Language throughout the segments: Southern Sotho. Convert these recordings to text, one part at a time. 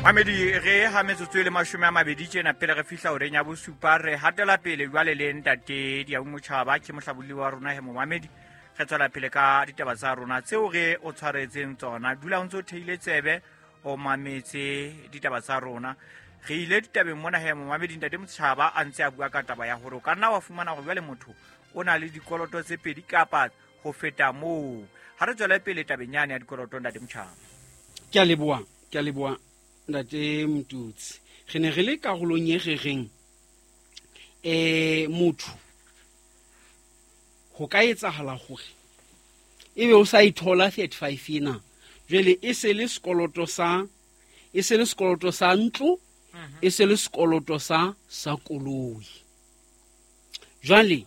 Mamedi, re ha metsotso e le 20 tjena pele re fihla horeng ya bosupa. Re hatela pele jwale le ntate Diau Motjhaba, ke mohlabolli wa rona he momamedi. Re tswela pele ka ditaba tsa rona tseo re o tshwaretseng tsona. Dula o ntse o theile tsebe, o mametse ditaba tsa rona. Re ile ditabeng mona he momamedi, ntate Motjhaba a ntse a bua ka taba ya hore o ka nna wa fumana hore jwale motho o na le dikoloto tse pedi kapa ho feta moo. Ha re tswele pele tabeng yane ya dikoloto, ntate Motjhaba. Ke a leboha, ke a leboha ntate Motutsi. Re ne re le karolong e re reng motho ho ka etsahala hore ebe o sa ithola 35 ena, jwale e se le sekoloto sa, e se le sekoloto sa ntlo, e se le sekoloto sa koloi. Jwale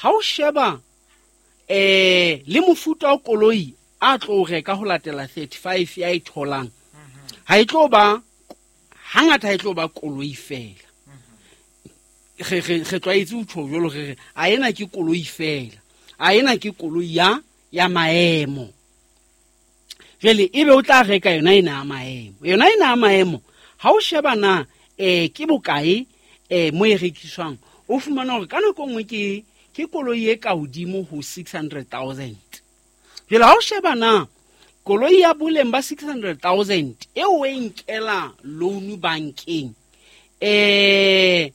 ha o sheba le mofuta wa koloi a tlo reka ho latela 35 ya e tholang, ha e tlo ba hangata, ha e tlo ba koloi fela. Re tlwaetse ho tjho jwalo, re re a ena ke koloi fela, a ena ke koloi ya maemo. Jwale ebe o tla reka yona ena ya maemo, yona ena ya maemo ha o sheba na ke bokae mo e rekiswang, o fumana hore ka nako nngwe ke koloi e ka hodimo ho 600,000. Jwale ha o sheba na koloi ya boleng ba 600,000 e o e nkela loan bankeng,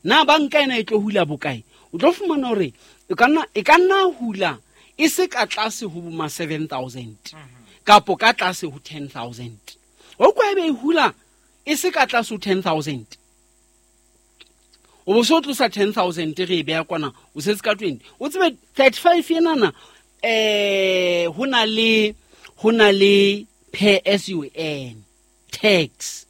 na banka ena e tlo hula bokae, o tlo fumana hore e ka nna hula e se ka tlase ho ma 7,000 kapo ka tlase ho 10,000. O kwa ebe e hula e se ka tlase ho 10,000, o bo so tlosa 10,000 re e beha kwana, o setse ka 20. O tsebe 35 enana, ho na le pay as you earn tax.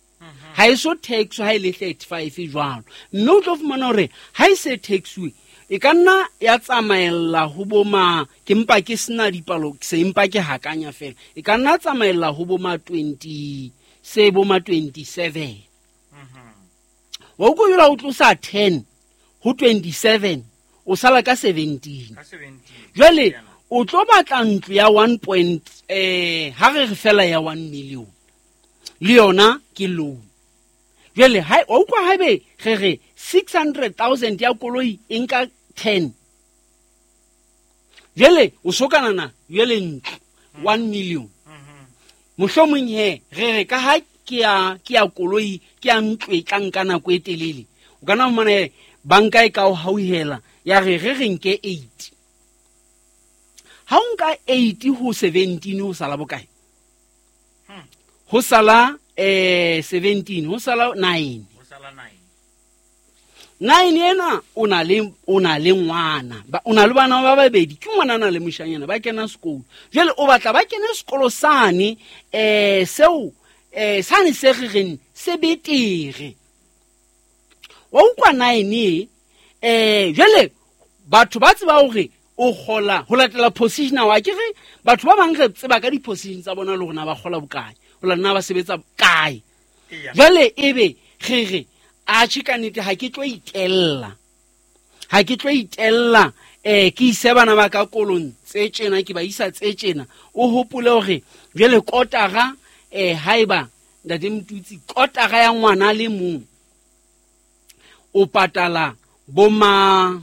Ha e so tax ha e le 35 jwalo, mme o tlo fumana hore ha e se taxiwe e ka nna ya tsamaella ho bo ma, ke mpa ke sena dipalo, se mpa ke hakanya fela, e ka nna tsamaella ho bo ma 20, se bo ma 27. Wa utlwa jwale ha o tlosa 10 ho 27, o sala ka 17. Ka 17. Jwale o tlo batla ntlo ya 1 point, ha re re fela ya 1 million, le yona ke loan. Jwale ha o utlwa haebe re re 600,000 ya koloi e nka 10, jwale o sokanana jwale ntlo 1 million. Mohlomong he re re ka ha ke ya koloi, ke ya ntlo e tla nka nako e telele, o ka nna fumana he banka e ka o hauhela ya re re re nke 8. Ha o nka 8 ho 17 ho sala bokae? Ho sala 17, ho sala 9. Ho sala 9. 9 ena o na le ngwana, ba, o na le bana ba babedi, ke ngwana na le moshanyana ba kena sekolo. Jwale o batla ba kene sekolo sane, seo, sane se re reng se betere. Wa utlwa 9 e, jwale batho ba tseba hore o kgola ho latela position wa ke re batho ba bang re tseba ka di-position tsa bona le hore na ba kgola bokae, ho la nna ba sebetsa kae. Jwale ebe re re atjhe ka nnete ha ke tlo itella, ha ke tlo itella, ke ise bana ba ka kolong tse tjena, ke ba isa tse tjena. O hopole hore jwale kotara, haeba ntate Motutsi, kotara ya ngwana le mong o patala boma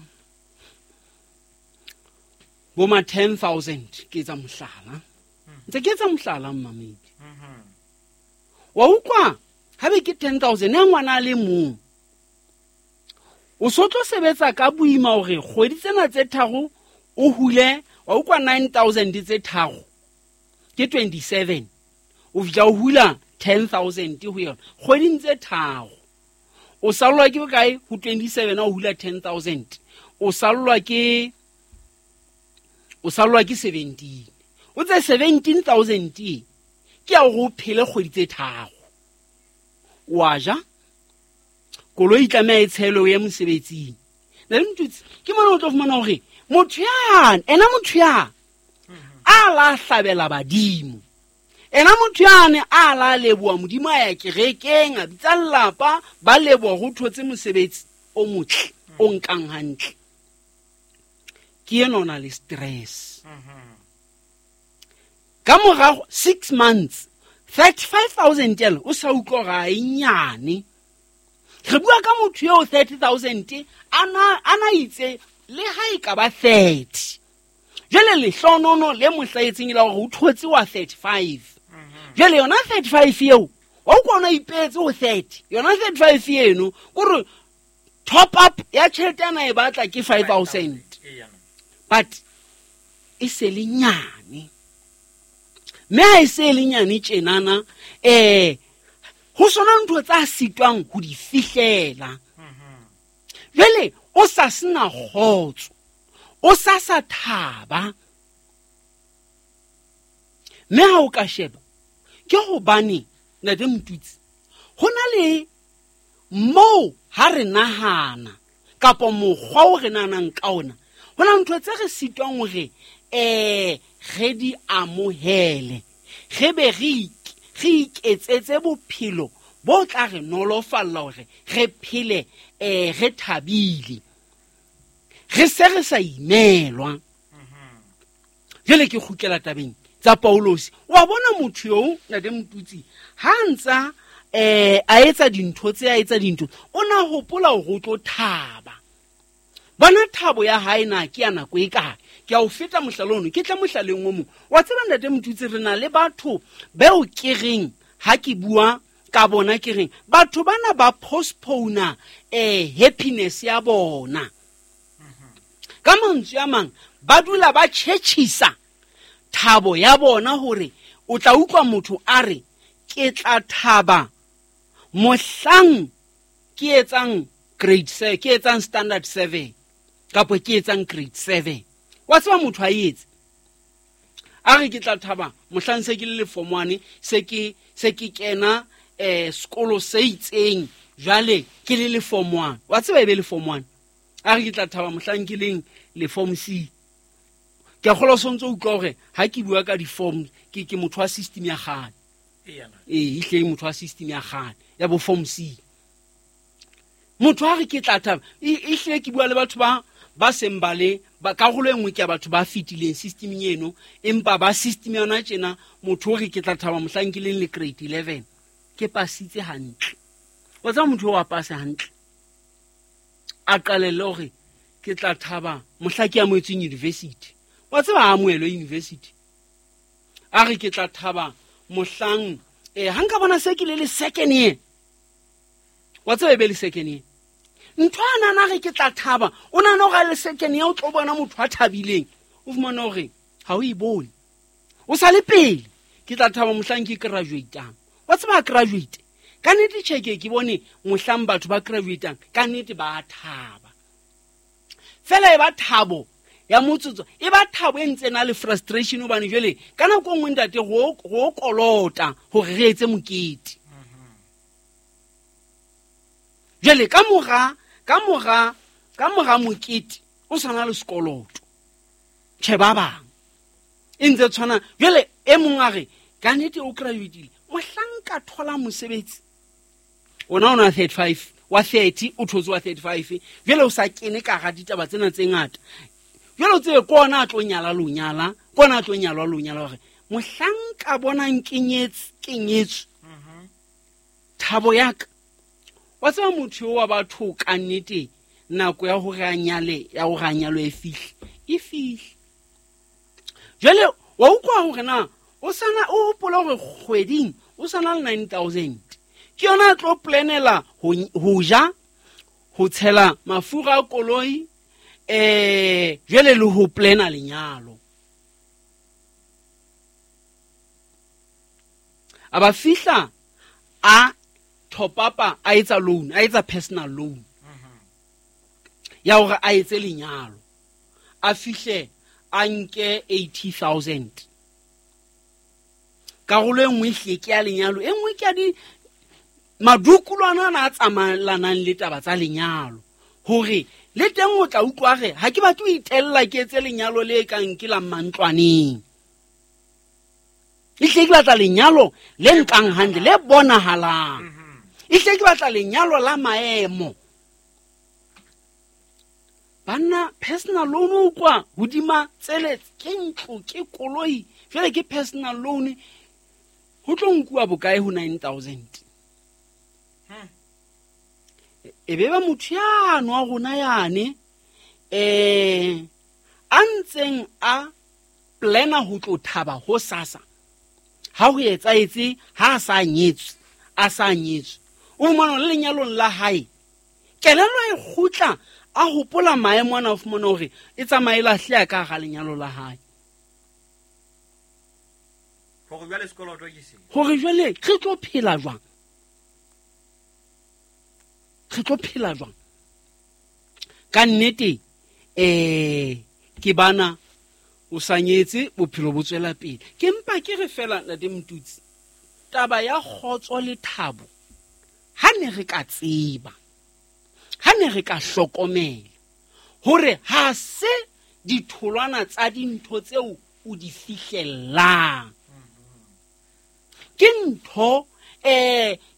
10,000, ke etsa mohlala. Ntse ke etsa mohlala, mmamedi. Wa utlwa, ha be ke 10,000 ya ngwana a le mong, o so tlo sebetsa ka boima hore kgwedi tsena tse tharo o hule, wa utlwa 9,000 tse tharo ke 27, o fihla o hula 10,000 ho yona kgweding tse tharo. O sallwa ke bokae ho 27 ha o hula 10,000? O sallwa ke, o sallwa ke 17. O tse 17,000 e ke ya hore o phele kgwedi tse tharo. Wa ja, koloi e tlameha e tshelwe o ye mosebetsing. Ntate Motutsi, ke mona o tlo fumana hore motho yane, ena motho ya a la hlabela badimo, ena motho yane a la leboha Modimo, a ya kerekeng, a bitsa lelapa, ba leboha ho thotse mosebetsi o motle, o nkang hantle. Ke ena o na le stress. Ka morago 6 months, 35 000 ela o sa utlwa gore a e nyane. Re bua ka motho eo 30 000 a na itse le ha e ka ba 30. Jwale lehlonono le mo hlahetseng e la hore o thotse wa 35. Jwale yona 35 eo, wa utlwa ona ipehetse ho 30. Yona 35 eno, kore top up ya tjhelete ana e batla ke 5 000. But e se le nyane. Mme ha e se le nyane tjenana, ho sona ntho tsa sitwang ho di fihlela. Jwale o sa sena kgotso, o sa sa thaba. Mme ha o ka sheba, ke hobane Ntate Motutsi, ho na le moo ha re nahana kapa mokgwa o re nahanang ka ona, ho na ntho tse re sitwang hore re di amohele, re be re iketsetse bophelo bo tla re nolofalla hore re phele re thabile, re se re sa imelwa. Jwale ke kgutlela tabeng tsa Paulosi. Wa bona motho eo, Ntate Motutsi, ha ntsa a etsa dintho tse a etsa dintho, o na hopola hore o tlo thaba. Bona thabo ya hae na ke ya nako e kae? Ke a o feta mohlala ono, ke tla mohlaleng o mong. Wa tseba Ntate Motutsi, re na le batho beo ke reng ha ke bua ka bona ke reng batho bana ba postpone happiness ya bona. Ka mantswe a mang, ba dula ba tjhetjhisa thabo ya bona hore o tla utlwa motho a re ke tla thaba mohlang ke etsang grade ke etsang standard 7 kapa ke etsang grade 7. Wa tseba motho a etse a re ke tla thaba mohlang se ke le form 1, se ke kena sekolo se itseng, jwale ke le form 1. Wa tseba e be le form 1. A re ke tla thaba mohlang ke leng le form C. Ke a kgolwa o sontso o utlwa hore ha ke bua ka di-form, ke motho wa system ya kgale. Ee, ehlile motho wa system ya kgale, ya bo form C. Motho a re ke tla thaba, ehlile ke bua le batho ba seng ba le, ba karolo e nngwe ke ya batho ba fetileng systemeng eno, empa ba system yona tjena, motho o re ke tla thaba mohlang ke leng le grade 11, ke pasitse hantle. Wa tseba motho o a pase hantle, a qalelle hore ke tla thaba mohla ke amohetsweng university. Wa tseba a amohelwe university. A re ke tla thaba mohlang, ha nka bona se ke le second year. Wa tseba e be le second year. Ntho a nana re ke tla thaba, o nahana hore a le second year o tlo bona motho a thabileng. O fumana hore ha o e bone. O sa le pele, ke tla thaba mohlang ke graduate-ang. Wa tseba a graduate. Ka nnete tjhe ke bone mohlang batho ba graduate-ang, ka nnete ba a thaba. Fela e ba thabo ya motsotso, e ba thabo e ntse na le frustration hobane jwale ka nako e nngwe ntate go kolota hore re etse mokete. Jwale ka mora mokete o sa na le sekoloto. Tjhe ba bang e ntse tshwana. Jwale e mong a re ka nnete o graduate-ile, mohlang ka thola mosebetsi ona o na 35 wa 30, o thotse wa 35, jwale o sa kene ka hara ditaba tsena tse ngata. Jwale o tsebe ke ona a tlo nyala lo nyala, ke ona a tlo nyalwa lo nyala, hore mohlang ka bonang ke nyetse, ke nyetswe. Thabo ya ka. Wa tseba motho eo wa batho ka nnete nako ya hore a nyale, ya hore a nyalwe e fihle, e fihle. Jwale wa utlwa hore na o sana, o hopola hore kgweding o sana le 9,000. Ke yona a tlo planela ho ja, ho tshela mafura a koloi, jwale le ho plana lenyalo. A ba fihla a top up-a, a etsa loan, a etsa personal loan. Ya hore a etse lenyalo. A fihle a nke 80,000. Karolo e nngwe ehlile ke ya lenyalo, e nngwe ke ya di madukulwana ana a tsamaelanang le taba tsa lenyalo. Hore le teng o tla utlwa re ha ke batle ho itella ke etse lenyalo le kang ke la mantlwaneng. Ehlile ke batla lenyalo le nkang hantle, le bonahalang. Ehlile ke batla lenyalo la maemo. Banna, personal loan o kwa hodima tsele, ke ntlo, ke koloi, jwale ke personal loan. Ho tlo nkuwa bokae ho 9000? E be ba motho yano wa rona yane a ntseng a plana ho tlo thaba ho sasa ha ho etsaetse ha a sa nyetswe, a sa nyetswe, o fumana le lenyalong la hae kelello e kgutla a hopola maemo ana, o fumana hore e tsamaye lahleha ka hara lenyalo la hae. Hore jwale sekoloto ke se, hore jwale re tlo phela jwang, re tlo phela jwang ka nnete. Ke bana o sa nyetse, bophelo bo tswela pele. Ke mpa ke re fela ntate Motutsi, taba ya kgotso le thabo, ha ne re ka tseba, ha ne re ka hlokomela hore ha se ditholwana tsa dintho tseo o di fihlellang, ke ntho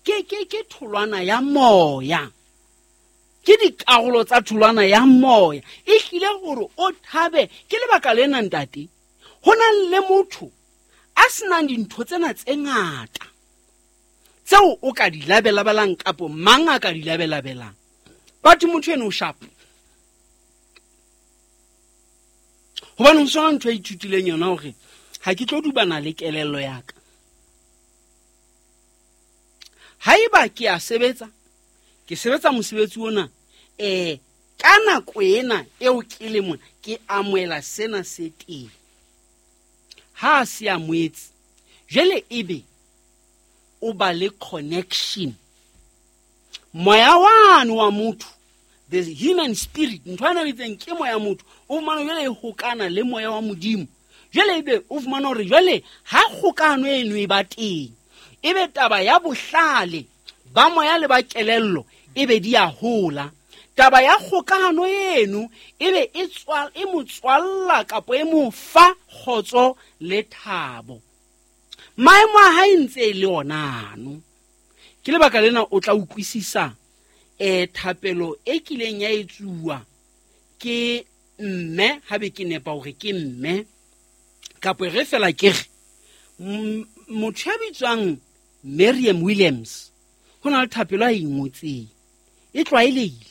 ke tholwana ya moya, ke dikarolo tsa tholwana ya moya, e hlile hore o thabe. Ke lebaka lena ntate, ho na le motho a senang dintho tsena tse ngata tseo o ka di labelabelang kapo mang a ka di labelabelang, but motho eno o sharp, hobane ho sona ntho e ithutileng yona hore ha ke tlo dubana le kelello ya ka. Haeba ke a sebetsa, ke sebetsa mosebetsi ona, ka nako ena eo ke le mona, ke amohela sena se teng. Ha a se amohetse, jwale ebe o ba le connection. Moya wane wa motho, the human spirit, ntho ana bitseng ke moya motho, o fumana jwale e hokana le moya wa Modimo. Jwale ebe o fumana hore jwale ha kgokano eno e ba teng, ebe taba ya bohlale ba moya le ba kelello ebe di a hola. Taba ya kgokano eno ebe e e mo tswalla kapo e mo fa kgotso le thabo. Maemo a hae ntse e le onano. Ke lebaka lena o tla utlwisisa thapelo e kileng ya etsuwa ke mme, ha be ke nepa hore ke mme kapo re fela ke re motho ya bitswang Miriam Williams, ho na le thapelo a e ngotseng, e tlwaelehile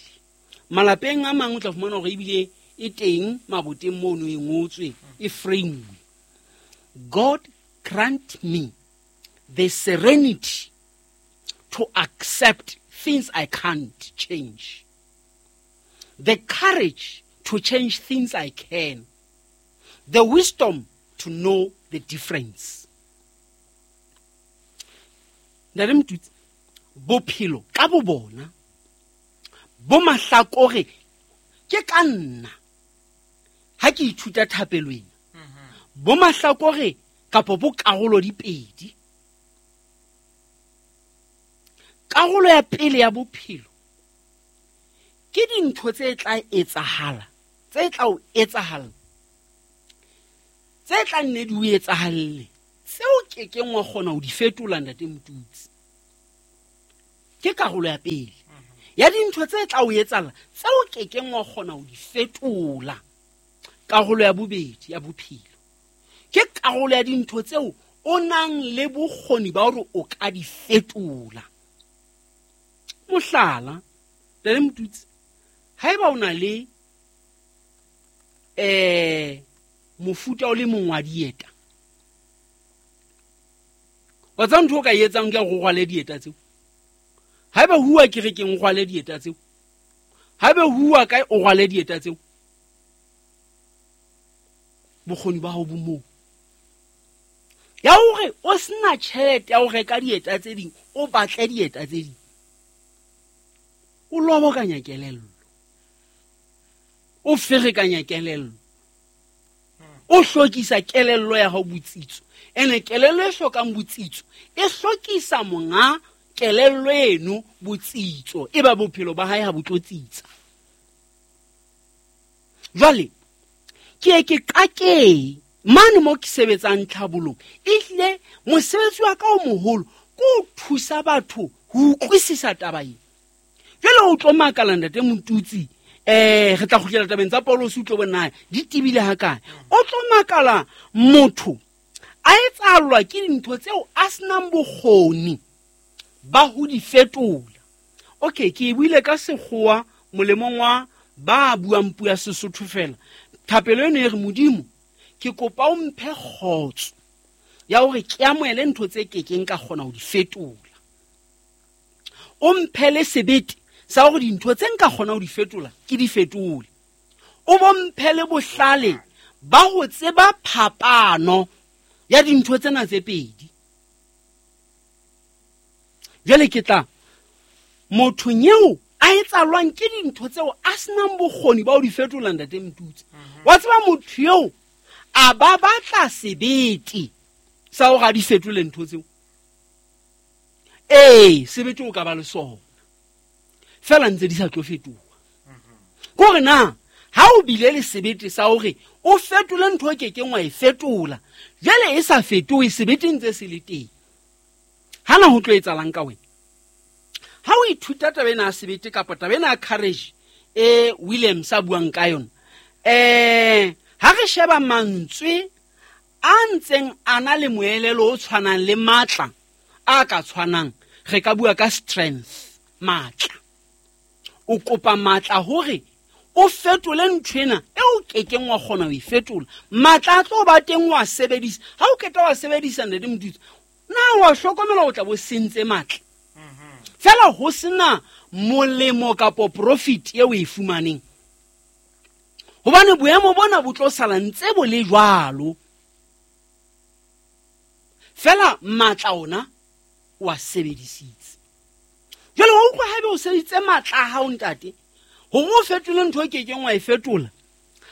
malapeng a mang, o tla fumana hore ebile e teng maboteng mono, e ngotswe, e frame. God grant me the serenity to accept things I can't change, the courage to change things I can, the wisdom to know the difference. Ntate Motutsi, bophelo ka bo bona bo mahlakore ke ka nna ha ke ithuta thapelo ena, bo mahlakore kapo bo karolo di pedi. Karolo ya pele ya bophelo ke dintho tse tla etsahala, tse tla o etsahala, tse tla nne di o etsahalle, tseo ke keng wa kgona ho di fetola ntate Motutsi. Ke karolo ya pele ya dintho tse tla o etsahala, tseo ke keng wa kgona ho di fetola. Karolo ya bobedi ya bophelo ke karolo ya dintho tseo o nang le bokgoni ba hore o ka di fetola. Mohlala, ntate Motutsi, haeba o na le mofuta o le mong wa dieta, wa tseba ntho o ka e etsang ke hore o rwale dieta tseo. Haeba ho uwa kerekeng, o rwale dieta tseo. Haeba ho uwa kae, o rwale dieta tseo. Bokgoni ba hao bo moo. Ya hore o sena tjhelete ya ho reka dieta tse ding, o batle dieta tse ding, o lobokanya kelello, o ferekanya kelello, o hlokisa kelello ya hao botsitso. Ene kelello e hlokang botsitso e hlokisa monga kelello eno botsitso, e ba bophelo ba hae ha bo tlo tsitsa. Jwale ke ye ke qakeng mane mo ke sebetsang tlhabolong, ehlile mosebetsi wa ka o moholo ke ho thusa batho ho utlwisisa taba ena. Jwale o tlo makala ntate Motutsi, re tla kgutlela tabeng tsa Paulosi, o tlo bona di tebile hakae. O tlo makala motho A etsahallwa ke dintho tseo a senang bokgoni ba ho di fetola. Okay, ke e buile ka sekgowa molemong wa ba buang puo ya Sesotho fela. Thapelo eno e re, Modimo, ke kopa o mphe kgotso ya hore ke amohele ntho tse kekeng ka kgona ho di fetola. O mphe le sebete sa hore dintho tse nka kgona ho di fetola ke di fetole. O bo mphe le bohlale ba ho tseba phapano ya dintho tsena tse pedi. Jwale ke tla mothong eo a etsalwang ke dintho tseo a senang bokgoni ba ho di fetola, Ntate Motutsi. Wa tseba motho eo a ba batla sebete sa hore a di fetole ntho tseo. Ee, sebete o ka ba le sona, fela ntse di sa tlo fetoha. Kore na ha o bile le sebete sa hore o fetole ntho e kekeng wa e fetola, jwale e sa fetohe, sebete ntse se le teng, hana ho tlo etsalang ka wena? Ha o ithuta taba ena ya sebete kapa taba ena ya courage e Williams a buang ka yona, ha re sheba mantswe a ntseng a na le moelelo o tshwanang le matla a ka tshwanang, re ka bua ka strength, matla. O kopa matla hore o fetole ntho ena e o kekeng wa kgona ho e fetola. Matla a tlo ba teng wa sebedisa. Ha o qeta wa sebedisa, Ntate Motutsi, na wa hlokomela o tla bo sentse matla? Fela ho sena molemo kapo profit eo e fumaneng, hobane boemo bona bo tlo sala ntse bo le jwalo. Fela matla ona o a sebedisitse. Jwale wa utlwa haebe o sebedisitse matla a hao, ntate, hore o fetole ntho e kekeng wa e fetola.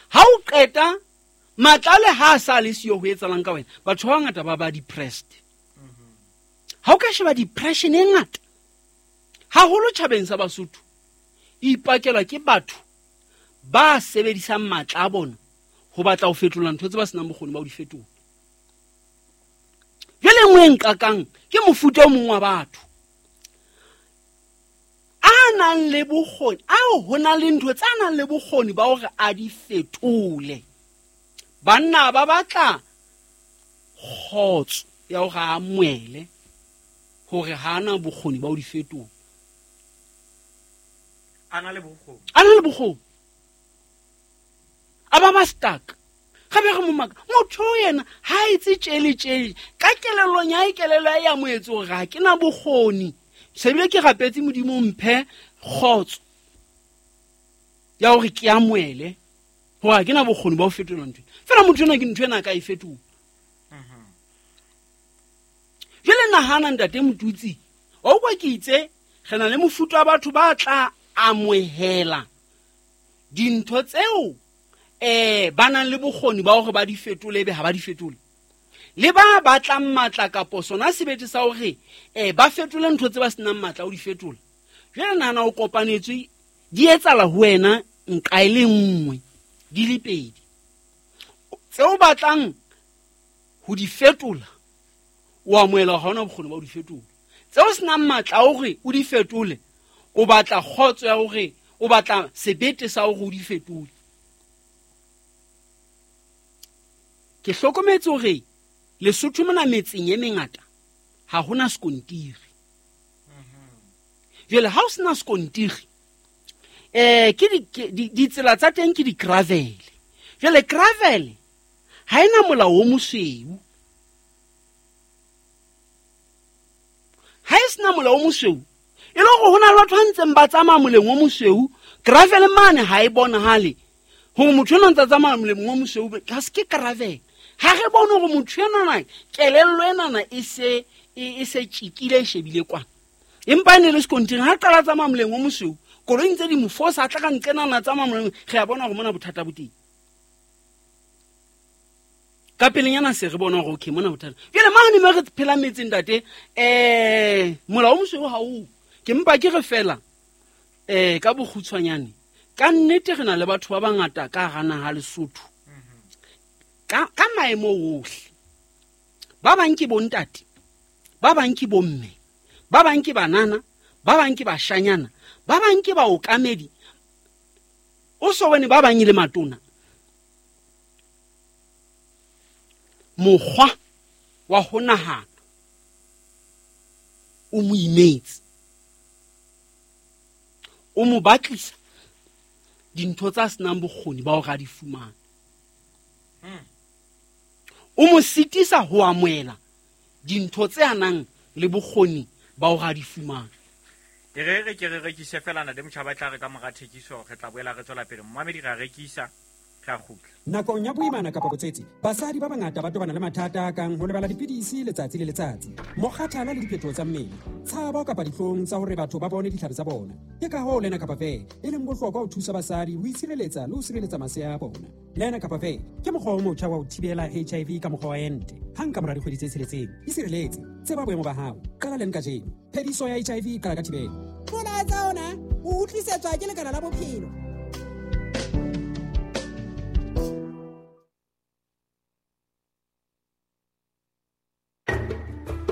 Ha o qeta matla le ha a sa le siyo, ho etsalang ka wena? Batho ba bangata ba ba depressed. Ha o ka sheba depression e ngata haholo tjhabeng sa Basotho, e ipakelwa ke batho ba sebedisang matla a bona ho batla ho fetola ntho tse ba senang bokgoni ba ho di fetola. Jwale nngwe e nqakang ke mofuta o mong wa batho a nang le bokgoni, ao ho na le ntho tse a nang le bokgoni ba hore a di fetole. Banna ba batla kgotso ya hore a amohele hore ha ana bokgoni ba ho di fetola. A na le bokgoni. A na le bokgoni. A ba ba stuck. Ga be re mo maka, motho o yena ha a etse tjele tjele. Ka kelellong ya hae, kelello ya hae ya mo etse hore ha ke na bokgoni. Sebile ke rapetse Modimo mphe kgotso ya hore ke amohele hore ha ke na bokgoni ba ho fetola ntho ena. Fela motho enwa ke ntho ena a ka e fetola. Jwale nahana, Ntate Motutsi, wa utlwa ke itse re na le mofuta wa batho ba tla amohela dintho tseo ba nang le bokgoni ba hore ba di fetole, ebe ha ba di fetole. Le ba batlang matla kapo sona sebete sa hore ba fetole ntho tse ba senang matla ho di fetola. Jwale nahana o kopanetswe, di etsala ho wena nqa e le nngwe, di le pedi. Tseo batlang ho di fetola, o amohela ha ona bokgoni ba ho di fetola. Tseo senang matla a hore o di fetole, o batla kgotso ya hore o batla sebete sa hore o di fetole. Ke hlokometse hore Lesotho mona metseng e mengata ha hona sekontiri. Jwale ha o sena sekontiri, ke ditsela tsa teng ke di-gravel. Jwale gravel ha ena molao o mosweu. Ha e sena molao o mosweu, e le hore ho na le batho ba ntseng ba tsamaya moleng o mosweu, gravel mane ha e bonahale hore motho enwa ntse a tsamaya moleng o mosweu, ha se ke gravel. Ha re bone hore motho enwana kelello enana e se tjekile, e shebile kwana. Empa e ne le sekontiri, ha qala tsamaya moleng o mosweu, koloi ntse di mo fosa, a tla ka nqenana tsamaya moleng, re a bona hore mona bothata bo teng. Ka pelenyana se re bona hore okay, mona bothata. Jwale mane mo re phelang metseng, ntate, molao o mosweu ha o. Ke mpa ke re fela, ka bokgutshwanyane, ka nnete re na le batho ba bangata ka hara naha Lesotho. Ka maemo ohle. Ba bang ke bontate, ba bang ke bomme, ba bang ke banana, ba bang ke bashanyana, ba bang ke baokamedi. O so bone ba bang e le matona. Mokgwa wa ho nahana o mo imetse, o mo batlisa dintho tsa senang bokgoni ba hore a di fumane. O mo sitisa ho amohela dintho tse a nang le bokgoni ba hore a di fumane. E re re ke re rekise fela ntate Motjhaba, e tla re ka mora thekiso re tla boela re tswela pele. Momamedi re a rekisa, re a kgutla. Nakong ya boimana kapa botswetse, basadi ba bangata ba tobana le mathata a kang ho lebala dipidisi letsatsi le letsatsi, mokgathala le diphetoho tsa mmele, tshabo kapa dihlong tsa hore batho ba bone ditlhare tsa bona. Ke ka hoo Lena Kapa Ve e leng bohlokwa ho thusa basadi ho itshireletsa le ho sireletsa masea a bona. Lena Kapa Ve ke mokgwa o motjha wa ho thibela HIV ka mokgwa wa ente. Hang ka mora dikgwedi tse tsheletseng, isireletse, tseba boemo ba hao. Qala leng kajeno. Phediso ya HIV e qala ka thibelo. Molaetsa ona o utlwisetswa ke Lekala la Bophelo.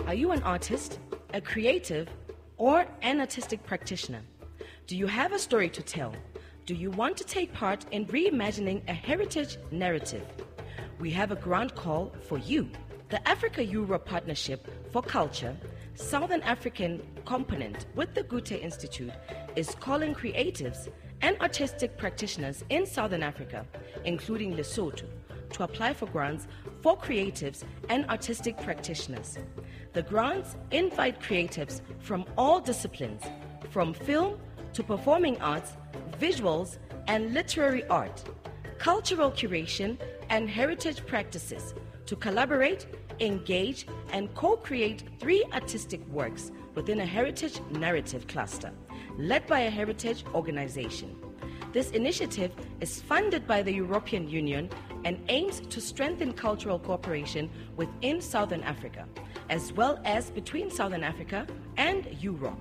Are you an artist, a creative, or an artistic practitioner? Do you have a story to tell? Do you want to take part in reimagining a heritage narrative? We have a grant call for you. The Africa-Europe Partnership for Culture, Southern African component with the Goethe Institute, is calling creatives and artistic practitioners in Southern Africa, including Lesotho, to apply for grants for creatives and artistic practitioners. The grants invite creatives from all disciplines, from film to performing arts, visuals and literary art, cultural curation and heritage practices, to collaborate, engage, and co-create 3 artistic works within a heritage narrative cluster, led by a heritage organization. This initiative is funded by the European Union and aims to strengthen cultural cooperation within Southern Africa, as well as between Southern Africa and Europe,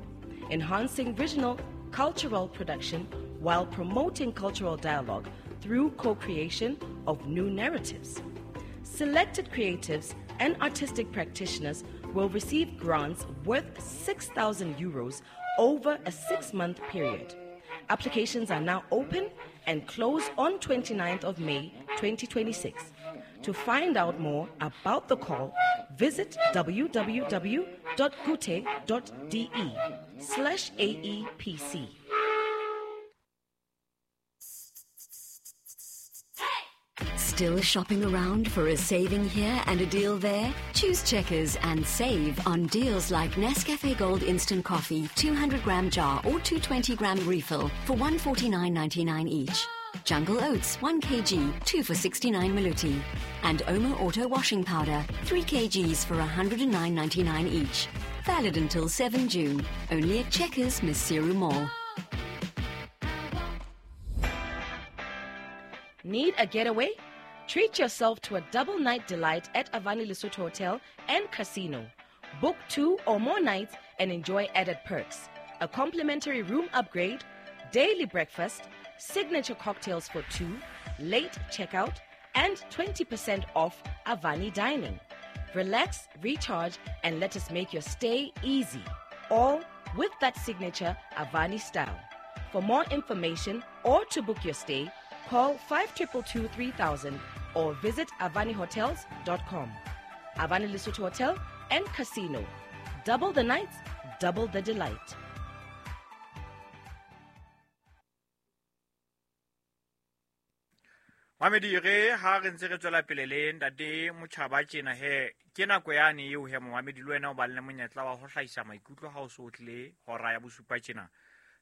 enhancing regional cultural production while promoting cultural dialogue through co-creation of new narratives. Selected creatives and artistic practitioners will receive grants worth 6,000 euros over a 6-month period. Applications are now open and close on 29th of May, 2026. To find out more about the call, visit www.goethe.de/AEPC. Still shopping around for a saving here and a deal there? Choose Checkers and save on deals like Nescafe Gold Instant Coffee, 200-gram jar or 220-gram refill for $149.99 each. Jungle Oats, 1 kg, 2 for 69 maluti. And Omo Auto Washing Powder, 3 kgs for $109.99 each. Valid until 7 June. Only at Checkers, Maseru Mall. Need a getaway? Treat yourself to a double night delight at Avani Lesotho Hotel and Casino. Book 2 or more nights and enjoy added perks. A complimentary room upgrade, daily breakfast, signature cocktails for 2, late checkout, and 20% off Avani dining. Relax, recharge, and let us make your stay easy. All with that signature Avani style. For more information or to book your stay, call 5222 3000 or visit avanihotels.com. Avani Lesotho Hotel and Casino. Double the nights, double the delight. Mamedi re ha re ntse re tswela pele le ntate Motjhaba tjena he ke nako yane eo he momamedi le wena o ba le monyetla wa ho hlahisa maikutlo ha o so tlile hora ya bosupa tjena.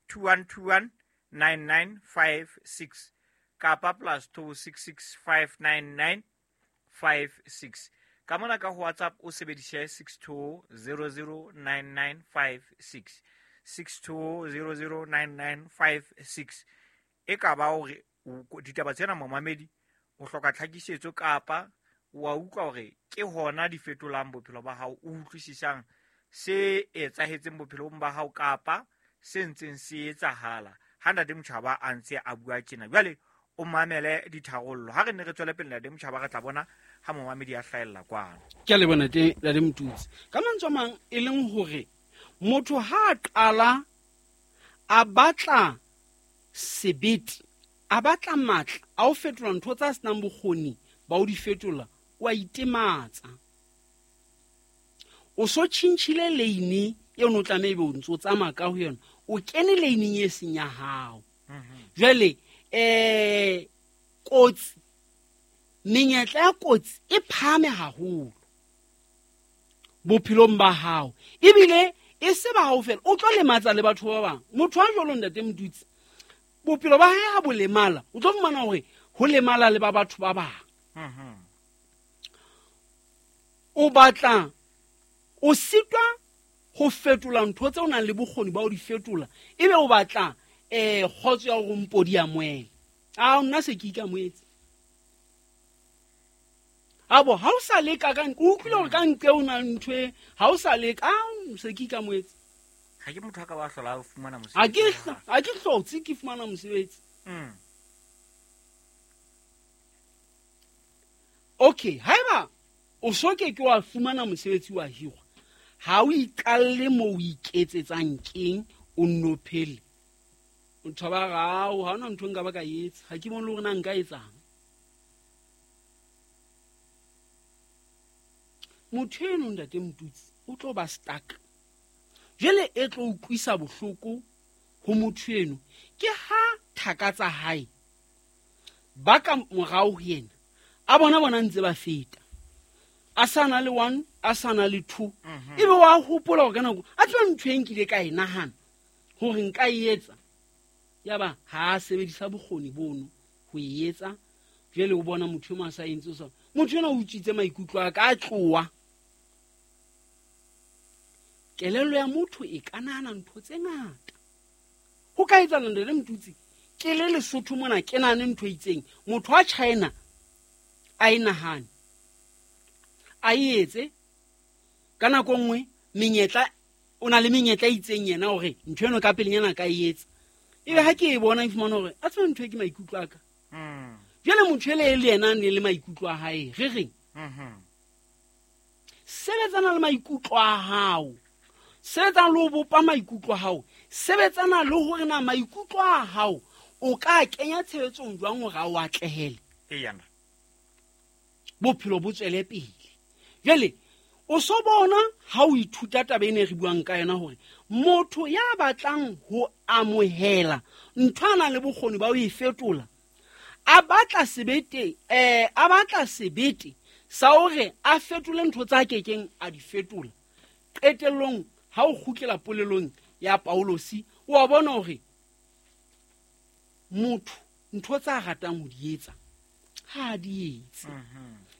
2121 9956 kapa plus 26659956. Ka mona ka ho WhatsApp o sebedise 62009956. 62009956. E ka ba hore ditaba tsena momamedi o hloka tlhakisetso kapa wa utlwa hore ke hona di fetolang bophelo ba hao, o utlwisisang se etsahetseng bophelong ba hao kapa se ntseng se etsahala. Ha ntate Motjhaba a ntse a bua tjena, jwale o mamele ditharollo. Ha re ne re tswele pele ntate Motjhaba re tla bona ha momamedi a hlahella kwano. Ke a leboha ntate Motutsi. Ka mantswe a mang e leng hore motho ha a qala a batla sebete, a batla matla a ho fetola ntho tsa senang bokgoni ba ho di fetola, o a itematsa. O so tjhintjhile lane eo no tlameha ebe o ntse o tsamaya ka ho yona, o kene laneng e seng ya hao. Jwale kotsi, menyetla ya kotsi e phahame haholo bophelong ba hao, ebile e se ba hao fela, o tlo lematsa le batho ba bang. Motho a jwalo ntate Motutsi, bophelo ba hae ha bo lemala, o tlo fumana hore ho lemala le ba batho ba bang. O batla o sitwa ho fetola ntho tse o nang le bokgoni ba ho di fetola, ebe o batla kgotso ya hore mpodi ya moela. A nna se ke ikamoetse. Abo ha o sa leka ka o utlwile hore ka ntle o na ntho e, ha o sa leka, a se ke ikamoetse. Ha ke motho a ka ba hlola ho fumana mosebetsi. Ha ke hlotse ke fumana mosebetsi. Okay, haeba o so ke ke wa fumana mosebetsi wa hirwa, ha o iqalle moo o iketsetsang keng, o nno phele. Motho ba rao, ha hona ntho nka ba ka etsa, ha ke bone le hore na nka etsang. Motho eno ntate Motutsi o tlo ba stuck. Jwale e tlo utlwisa bohloko ho motho eno ke ha thaka tsa hae ba ka morao ho yena a bona ntse ba feta, a sa na le 1, a sa na le 2, ebe wa hopola hore ka nako a tseba ntho e nkile ka e nahana hore nka e etsa, yaba ha a sebedisa bokgoni bono ho e etsa. Jwale o bona motho eno a sa entse so, motho ena o utswitse maikutlo a ka, a tloha. Kelello ya motho e ka nahana ntho tse ngata. Ho ka etsahala ntate Motutsi, ke le Lesotho mona ke nahane ntho e itseng, motho wa China a e nahane, a e etse. Ka nako nngwe menyetla, o na le menyetla e itseng yena hore ntho eno ka pelenyana ka e etsa, ebe ha ke e bona e fumana hore a tseba ntho e ke maikutlo a ka. Jwale motho ele le yena a ne le maikutlo a hae, re reng? Sebetsana le maikutlo a hao, sebetsana le ho bopa maikutlo a hao, sebetsana le hore na maikutlo a hao o ka kenya tshebetsong jwang hore a o atlehele. Bophelo bo tswele pele. Jwale o so bona ha o ithuta taba ena e re buang ka yona hore motho ya batlang ho amohela ntho a nang le bokgoni ba ho e fetola, a batla sebete, a batla sebete sa hore a fetole ntho tsa kekeng a di fetola. Qetellong ha o kgutlela polelong ya Paulosi, o a bona hore motho ntho tsa ratang ho di etsa ha a di etse.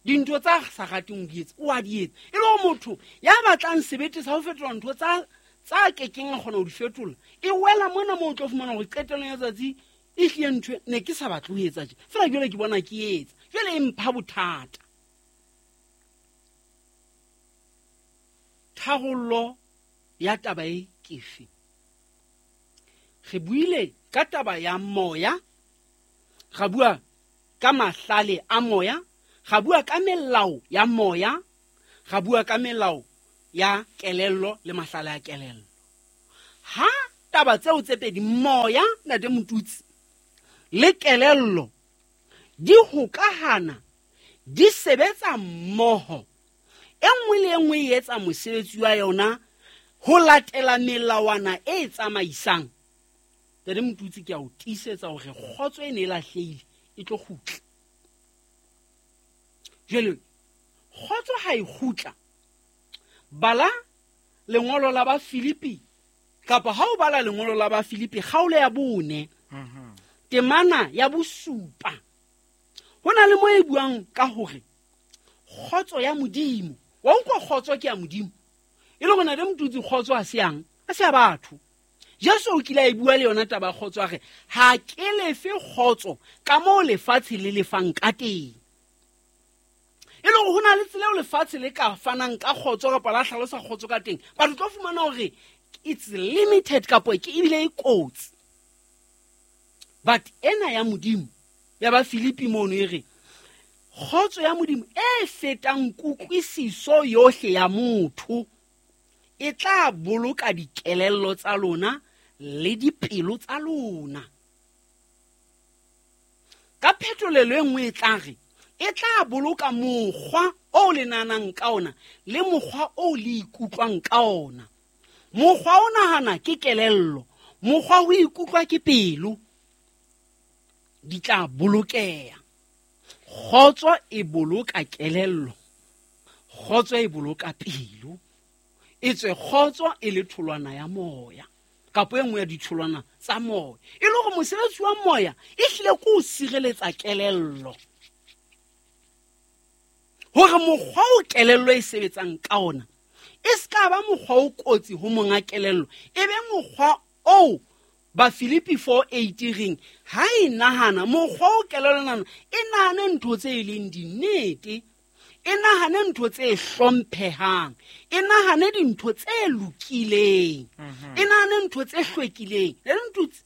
Dintho tsa sa rateng ho di etsa o a di etsa. E le hore motho ya batlang sebete sa ho fetola ntho tsa kekeng a kgona ho di fetola, e wela mona moo o tlo fumana hore qetellong ya tsatsi e hlile ntho ne ke sa batle ho etsa tje, fela jwale ke bona ke etsa, jwale e mpha bothata. Tharollo ya taba e ke efe? Re buile ka taba ya moya, ra bua ka mahlale a moya, ra bua ka melao ya moya, ra bua ka melao ya kelello le mahlale a kelello. Ha taba tseo tse pedi, moya ntate Motutsi le kelello, di hokahana, di sebetsa mmoho, e nngwe le e nngwe e etsa mosebetsi wa yona ho latela melawana e tsamaisang. Ntate Motutsi, ke a o tiisetsa hore kgotso e ne e lahlehile e tlo kgutla. Jwale kgotso ha e kgutla, bala lengolo la ba Filipi, kapa ha o bala lengolo la ba Filipi kgaolo ya 4, temana ya 7, ho na le mo e buang ka hore kgotso ya Modimo. Wa utlwa kgotso ke ya Modimo, e le hore ntate Motutsi kgotso ha se yang, ha se ya batho. Jesu o kile a e bua le yona taba ya kgotso, a re ha ke lefe kgotso ka moo lefatshe le lefang ka teng. E le hore ho na le tsela eo lefatshe le ka fanang ka kgotso kapa la hlalosa kgotso ka teng, batho tlo fumana hore it's limited kapo ke ebile e kotsi. But ena ya Modimo ya ba Filipi mono e re kgotso ya Modimo e fetang kutlwisiso yohle ya motho e tla boloka dikelello tsa lona le dipelo tsa lona. Ka phetolelo e nngwe e tla re E tla boloka mokgwa o le nahanang ka ona le mokgwa o le ikutlwang ka ona. Mokgwa o nahana ke kelello, mokgwa ho ikutlwa ke pelo. Di tla bolokeha. Kgotso e boloka kelello, kgotso e boloka pelo. E tswe kgotso e le tholwana ya moya, kapo e nngwe ya ditholwana tsa moya. E le hore mosebetsi wa moya e hlile ke ho sireletsa kelello, hore mokgwa o kelello e sebetsang ka ona e se ka ba mokgwa o kotsi ho monga kelello, e be mokgwa o ba Filipi 4:8 reng ha e nahana mokgwa o kelello nana e nahane ntho tse e leng dinnete, e nahane ntho tse hlomphehang, e nahane dintho tse lokileng, e nahane ntho tse hlwekileng. Le ntho tse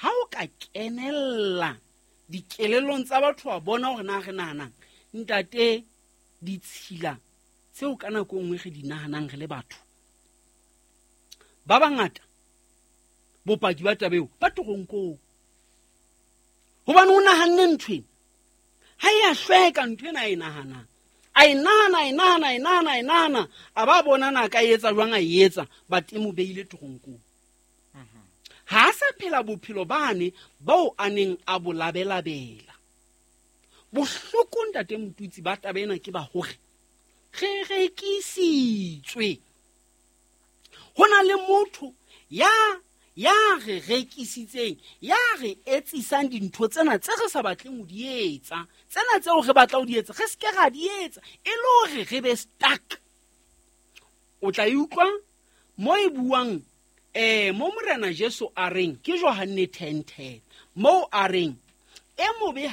ha o ka kenella dikelellong tsa batho wa bona hore na re nahanang, ntate, ditshila tseo ka nako e nngwe re di nahanang re le batho ba bangata, bopaki ba taba eo ba toronkong, hobane o nahanne ntho ena ha e a hlweka. Ntho ena a e nahanang, a e nahana, a e nahana, a e nahana, a e nahana, a ba bona na ka etsa jwang, a e etsa, ba temo beile toronkong. Ha a sa phela bophelo bane bao a neng a bo labelabela. Bohloko ntate Motutsi ba taba ena ke ba hore re rekisitswe. Ho na le motho ya re rekisitseng, ya re etsisang dintho tsena tse re sa batleng ho di etsa, tsena tseo re batla ho di etsa re se ke ra di etsa, e le hore re be stuck. O tla e utlwa mo e buang, mo Morena Jesu a reng ke Johanne 10:10, mo a reng e mobe